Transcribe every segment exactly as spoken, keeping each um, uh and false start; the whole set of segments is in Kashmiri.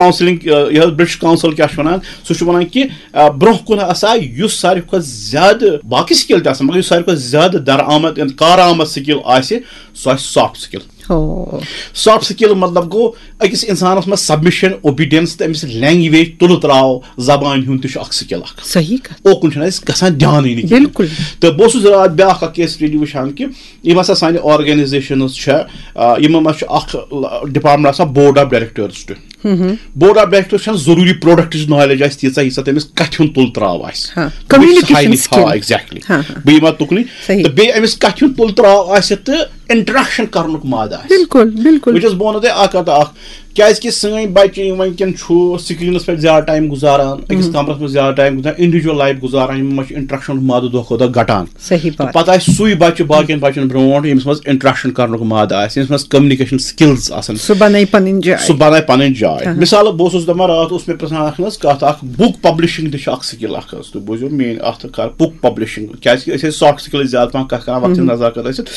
کاؤنسلنگ، یہِ حظ برٹش کاؤنسل کیٛاہ چھُ وَنان؟ سُہ چھُ وَنان کہِ آ، برونٛہہ کُن ہسا یُس ساروی کھۄتہٕ زیادٕ، باقٕے سکل تہِ آسان، مگر یُس ساروی کھۄتہٕ زیادٕ درآمد، کارآمد سکل آسہِ، سُہ آسہِ سافٹ سکل۔ ہو۔ سافٹ سکل مطلب گوٚو أکِس انسانس منٛز سبمشن، اوبیڈینس تہٕ أمِس لینگویج، تُلہٕ تراو زبانہِ ہُنٛد تہِ چھُ اکھ سکل اکھ۔ صحیح کتھ۔ اوکُن چھُنہٕ اَسہِ گژھان دھیانٕے نہٕ کِہیٖنۍ۔ بِلکُل۔ تہٕ بہٕ اوسُس راتھ بیٛاکھ اکھ کیس سٹڈی وٕچھان کہِ یِم ہسا سانہِ آرگنایزیشنز چھےٚ، آ، یِمن منٛز چھُ اکھ ڈپارٹمنٹ آسان بورڈ آف ڈایریکٹرز تہِ۔ بورڈ آف ڈایریکٹرز چھنہٕ ضروٗری پروڈکٹٕچ نالیج آسہِ تیٖژاہ، ییٖژاہ تٔمِس کتھِ ہُنٛد تُل تراو آسہِ۔ ہاں، تٔمِس communication ساینس تھاوان skill۔ ایگزیکٹلی۔ ہاں، ہاں۔ بہٕ یِمہٕ تُکنُے۔ صحیح۔ تہٕ بیٚیہِ أمِس کتھِ ہُنٛد تُل تراو آسہِ تہٕ انٹریکشن کرنُک مادٕ آسہِ۔ بِلکُل، بِلکُل۔ وٕچھ حظ، بہٕ وَنو تۄہہِ اکھ کتھ اکھ، کیازِ کہِ سٲنۍ بچہِ یِم وٕنکیٚن چھُ سکرینس پٮ۪ٹھ زیادٕ ٹایم گُزاران، أکِس کمرس منٛز زیادٕ ٹایم گُزاران، انڈیویجول لایف گُزاران، یِمن منٛز چھُ انٹریکشن مادٕ دۄہ کھۄتہٕ دۄہ گٹان۔ صحیح بات۔ پتہٕ آسہِ سُے بچہِ باقین بچن برونٛٹھ، ییٚمِس منٛز انٹریکشن کرنُک مادٕ آسہِ، ییٚمِس منٛز کمیونیکیشن سکلز آسن۔ سُہ بنایہِ پنٕنۍ جاے۔ سُہ بنایہِ پنٕنۍ جاے۔ ہاں۔ مثال، بہٕ اوسُس دپان، راتھ اوس مےٚ پرژھان اکھ نہ حظ کتھ اکھ، بُک پبلشنگ تہِ چھِ اکھ سکل اکھ حظ۔ تُہۍ بوٗزِو میٲنۍ اتھ کر، بُک پبلشنگ، کیازِ کہِ أسۍ ٲسۍ سافٹ سکلٕچ زیادٕ پہم کتھ کران وقتس نظر کتھ ٲسِتھ۔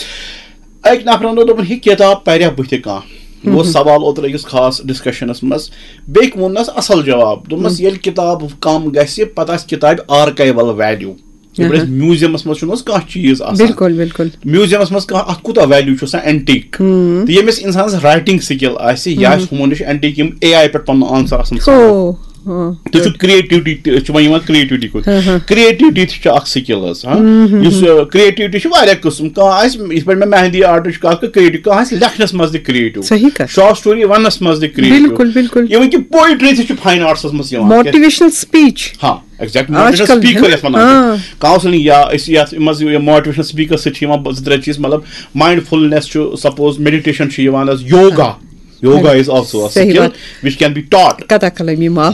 أکۍ نفرن دوٚپ، دوٚپُن، "یہِ کِتاب پریا بٕتھِ کانٛہہ؟" یہِ اوس سوال اوترٕ أکِس خاص ڈسکشنس منٛز۔ بیٚکۍ ووٚننس اصل جواب، دوٚپمس، "ییٚلہِ کِتاب کم گژھِ، پتہٕ آسہِ کِتابہِ آرکایول ویلیو۔" ییٚلہِ أسۍ میوٗزیمس منٛز چھُنہٕ حظ کانٛہہ چیٖز آسان۔ بِلکُل، بِلکُل۔ میوٗزیمس منٛز کانٛہہ، اتھ کوٗتاہ ویلیو چھُ آسان، اینٹیک۔ تہٕ ییٚمِس انسانس رائٹنگ سکل آسہِ، یا آسہِ ہُمن نِش اینٹیک، یِم اے آی پٮ۪ٹھ پنُن آنسر آسان ژھانڈان۔ ہو۔ ہاں۔ تُہۍ چھِو کریٹیوٹی تہِ، أسۍ چھِ وۄنۍ یِوان کریٹیوٹی کُن۔ ہاں، ہاں۔ کریٹیوٹی تہِ چھِ اکھ سکل حظ، ہاں۔ یُس کریٹیوٹی چھِ واریاہ قٕسم، کانٛہہ آسہِ، یِتھ پٲٹھۍ مےٚ مہندی آرٹٕچ کتھ کٔر، کریٹیو، کانٛہہ آسہِ لیکھنس منٛز تہِ کریٹیو۔ صحیح کتھ۔ شارٹ سٹوری وننس منٛز تہِ کریٹیو۔ بِلکُل، بِلکُل۔ اِوٕن کہِ پوئٹری تہِ چھِ فاین آرٹسس منٛز یِوان۔ Motivational speech. ہاں، ایگزیکٹ، آج موٹیویشنل کل چھُ سپیکر نا؟ یتھ ونان چھِ۔ ہاں۔ کاؤنسلنگ یا أسۍ یتھ منٛز یہِ موٹیویشنل سپیکر سۭتۍ چھِ یِوان زٕ ترٛےٚ چیٖز، مطلب ماینڈ فُلنس چھُ، سپوز میڈیٹیشن چھُ یِوان حظ، یوگا، یوگا از آلسو صحیح سکل بات۔ Which can be taught. قطع کلٲمی معاف،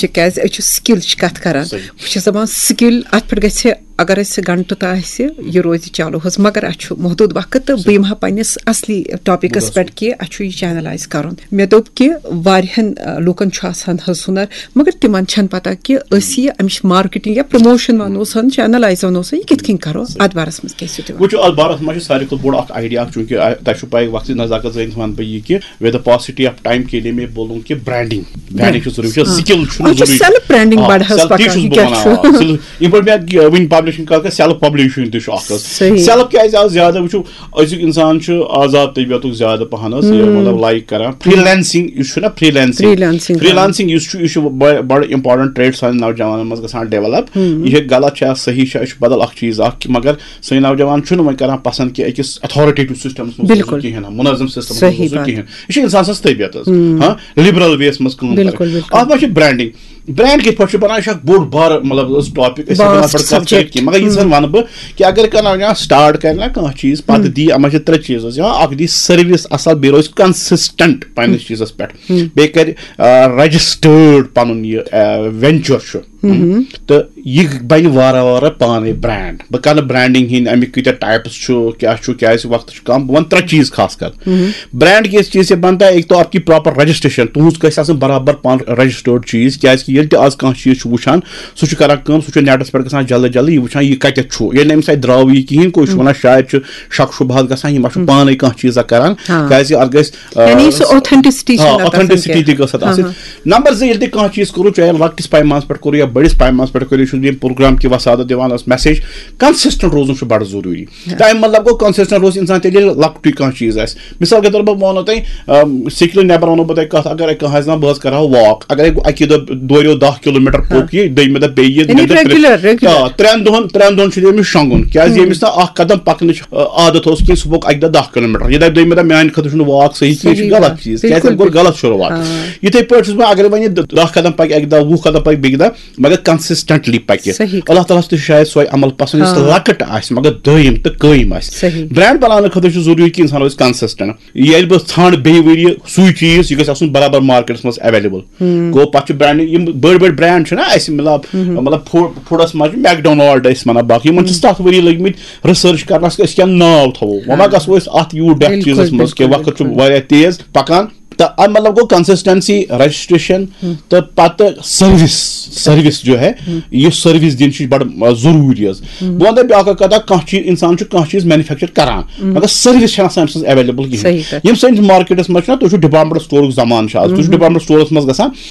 تِکیازِ أسۍ چھِ سکلٕچ کتھ کران۔ صحیح۔ بہٕ چھَس دپان سکل اتھ پٮ۪ٹھ گژھِ، اگر اسہِ گھنٹہٕ تہِ آسہِ، یہِ روزِ چالو حظ، مگر اسہِ چھُ محدود وقت تہٕ بہٕ یِمہٕ ہا پننِس اصلی ٹاپکس پٮ۪ٹھ کہِ اسہِ چھُ یہِ چینلائز کرُن۔ مےٚ دوٚپ کہِ واریاہن، آ، لوٗکن چھُ آسان حظ ہُنر، مگر تِمن چھنہٕ پتہ کہِ أسۍ یہِ امِچ مارکیٹنگ یا پروموشن ونو سن، چینلائز ونو سن، یہِ کِتھ کٔنۍ کرو؟ اتھ بارس منٛز کیٛاہ چھِو تُہۍ وَنان؟ وٕچھو، اتھ بارس منٛز چھُ ساروی کھۄتہٕ بوٚڑ اکھ آئیڈیا اکھ، چونکہ آ، تۄہہِ چھُو پاے، وقتٕچ نزاکت زٲنِتھ ونہٕ بہٕ یہِ کہِ with the paucity of time کے لیے میں بولوں کہ برانڈنگ، برانڈنگ چھُ ضروٗری، وٕچھو، سکل چھُنہٕ اَتھ چھُ ضروٗری۔ self branding آ، بڑٕ حظ self، تی پکان، چھُس یہِ بہٕ کیٛاہ وَنان، چھُ؟ آ، self، یِتھ پٲٹھۍ مےٚ، آ، وٕنۍ پبلشنگ کَرٕ، self publishing تہِ چھُ اکھ حظ۔ صحیح۔ Self کیازِ آو زیادٕ؟ وٕچھو، أزیُک انسان چھُ آزاد طبیعتُک زیادٕ پہن حظ، یہِ مطلب لائک کران۔ فرٛی لینسنگ یُس چھُ نا، free lancing. Free lancing, free آ۔ لینسنگ یُس چھُ، یہِ چھُ بڑ-، بڑٕ امپورٹنٹ ٹریٹ سانٮ۪ن نوجوانن منٛز گژھان ڈیولپ۔ یہِ چھُ غلط چھا، صحیح چھا، یہِ چھُ بدل اکھ چیٖز اکھ، مگر سٲنۍ نوجوان چھُنہٕ وۄنۍ کران پسند کہِ أکِس اتھارٹیٹو سسٹمس منٛز بِلکُل۔ روزُن کِہیٖنۍ، منظم سسٹمس منٛز صحیح روزُن بات۔ کِہیٖنۍ۔ یہِ چھُ انسان سٕنٛز طبیعت حظ۔ ہاں، لبرل ویس منٛز کٲم کرٕنۍ۔ بِلکُل، بِلکُل۔ اتھ منٛز چھِ برانڈنگ۔ برانڈ کِتھ پٲٹھۍ چھُ بنان؟ یہِ چھُ اکھ بوٚڑ بار، مطلب، حظ ٹاپک، أسۍ ہٮ۪کو نہٕ Vast اتھ پٮ۪ٹھ کتھ کٔرِتھ subject۔ کینٛہہ، مگر یہِ زن ونہٕ بہٕ کہِ اگر کانٛہہ نوجوان سٹارٹ کرِ نا کانٛہہ چیٖز، پتہٕ دی اتھ منٛز چھِ ترٛےٚ چیٖز حظ، یا اکھ دی سروس اصل، بیٚیہِ روزِ کنسسٹنٹ پننِس چیٖزس پٮ۪ٹھ، بیٚیہِ کرِ رجسٹٲرڈ پنُن یہِ وینچر چھُ۔ تہٕ یہِ بنہِ وارٕ وارٕ پانے برانڈ۔ بہٕ کرٕ برانڈنگ ہٕنٛدۍ امیِکۍ کۭتیاہ ٹائپس چھُ، کیٛاہ چھُ، کیٛازِ وقت چھُ کم، بہٕ ونہٕ ترٛےٚ چیٖز خاص کر۔ برانڈ کیس چیز سے بنتا ہے، ایک تو آپ کی پراپر رجسٹریشن، تُہنٛز گژھِ آسٕنۍ برابر پان رجسٹٲرڈ چیز، کیازِ کہِ ییٚلہِ تہِ آز کانٛہہ چیٖز چھُ وٕچھان، سُہ چھُ کران کٲم، سُہ چھُ نیٹس پٮ۪ٹھ گژھان جلدی جلدی، یہِ وٕچھان یہِ کتٮ۪تھ چھُ، ییٚلہِ نہٕ أمِس اتہِ درٛاوٕے یہِ کِہیٖنۍ، گوٚو یہِ چھُ ونان شاید چھُ شک شبہات گژھان، یہِ ما چھُ پانے کانٛہہ چیٖزا کران، ہاں۔ کیازِ اتھ گژھِ، آ، یعنی سُہ authenticity چھِ آ، نہٕ تَتھ آسان authenticity کینٛہہ۔ تہِ گٔژھ اتھ ہاں، آسٕنۍ۔ ہاں۔ نمبر زٕ، ییٚلہِ تہِ کانٛہہ چیٖز کوٚرُو، چاہے لۄکٹِس پیمانس پٮ۪ٹھ کوٚرُو یا بٔڑِس پیمانس پٮ۪ٹھ کوٚرُو، یہِ چھُس بہٕ ییٚمہِ پروگرام کہِ وسادت دِوان ٲس میسیج، کنسسٹنٹ روزُن چھُ بڑٕ ضروٗری۔ تَمہِ مطلب گوٚو، کنسسٹنٹ روزِ انسان تیٚلہِ، ییٚلہِ لۄکٹُے کانٛہہ چیٖز آسہِ۔ مثال کے طور پر بہٕ وَنو تۄہہِ، آ، سِکلہِ نٮ۪بر وَنو بہٕ تۄہہِ کَتھ، اگر کانٛہہ آسہِ دَپان، "بہٕ حظ کَرٕ ہا walk"، اگر اَکی دۄہ دوریو دَہ کِلوٗ میٖٹر پوٚک یہِ، دوٚیمہِ دۄہ بیٚیہِ یہِ، یعنی ترٛیٚیِمہِ دۄہ regular، regular۔ آ، ترٛٮ۪ن دۄہَن، ترٛٮ۪ن دۄہَن چھُ أمِس شۄنٛگُن، کیٛازِ ییٚمِس نہٕ اَکھ قدم پَکنٕچ، آ، عادت اوس کینٛہہ، سُہ پوٚک اَکہِ دۄہ دَہ کِلوٗ میٖٹر، یہِ دَپہِ دوٚیمہِ دۄہ میٛانہِ خٲطرٕ چھُنہٕ walk صحیح کینٛہہ، یہِ چھُ صحیح غلط بات۔ چیٖز، کیٛازِ بِلکُل، اَتہِ گوٚو غلط شروٗعات۔ آ۔ یِتھَے پٲٹھۍ چھُس بہٕ، اگر وۄنۍ یہِ دَہ قدم پَکہِ اَکہِ دۄہ، وُہ قدم پَکہِ بیٚکہِ دۄہ، مگر کنسسٹنٹلی پَکہِ۔ صحیح۔ اللہ تعالیٰ ہَس تہِ چھُ شاید سۄے عمل پسنٛد یُس لۄکٕٹ آسہِ مگر دٲیِم تہٕ قٲیِم آسہِ۔ صحیح۔ برانڈ بناونہٕ خٲطرٕ چھُ ضروٗری کہِ انسان روزِ کنسسٹنٹ۔ ییٚلہِ بہٕ ژھانڈٕ بیٚیہِ ؤریہِ سُے چیٖز، یہِ گژھِ آسُن برابر مارکیٹس منٛز اویلیبل۔ گوٚو پتہٕ چھُ برانڈنگ، یِم بٔڑۍ بٔڑۍ برانڈ چھِنہ اَسہِ، مطلب، مطلب فوڈ، فوڈس منٛز چھُ میکڈونالڈ أسۍ وَنان، باقٕے یِمن چھِ ستھ ؤری لٔگۍ مٕتۍ ریسرچ کرنس کہِ أسۍ کیٛاہ ناو تھاوو۔ وۄنۍ ما گژھو أسۍ اتھ یوٗت ڈیپتھ بِلکُل، چیٖزس منٛز کہِ بِلکُل، وقت چھُ بِلکُل۔ واریاہ تیز پکان۔ تہٕ اَمہِ مطلب گوٚو کنسسٹنسی، رجسٹریشن تہٕ پتہٕ سروس، سروس جو ہے، یہِ سروس دِنۍ چھِ بڑٕ، آ، ضروٗری حظ۔ بہٕ وَنہٕ تۄہہِ بیٛاکھ اکھ کتھا، کانٛہہ چیٖز، انسان چھُ کانٛہہ چیٖز مینوفیکچر کران، مگر سروس چھَنہٕ آسان أمۍ سٕنٛز اویلیبل کِہیٖنۍ۔ صحیح کتھ۔ یِم سٲنِس مارکیٹس منٛز چھِنہ، تُہۍ چھِو ڈپارٹمنٹ سٹورُک زمانہٕ چھُ آز، تُہۍ چھِو ڈپارٹمنٹ سٹورس منٛز گژھان،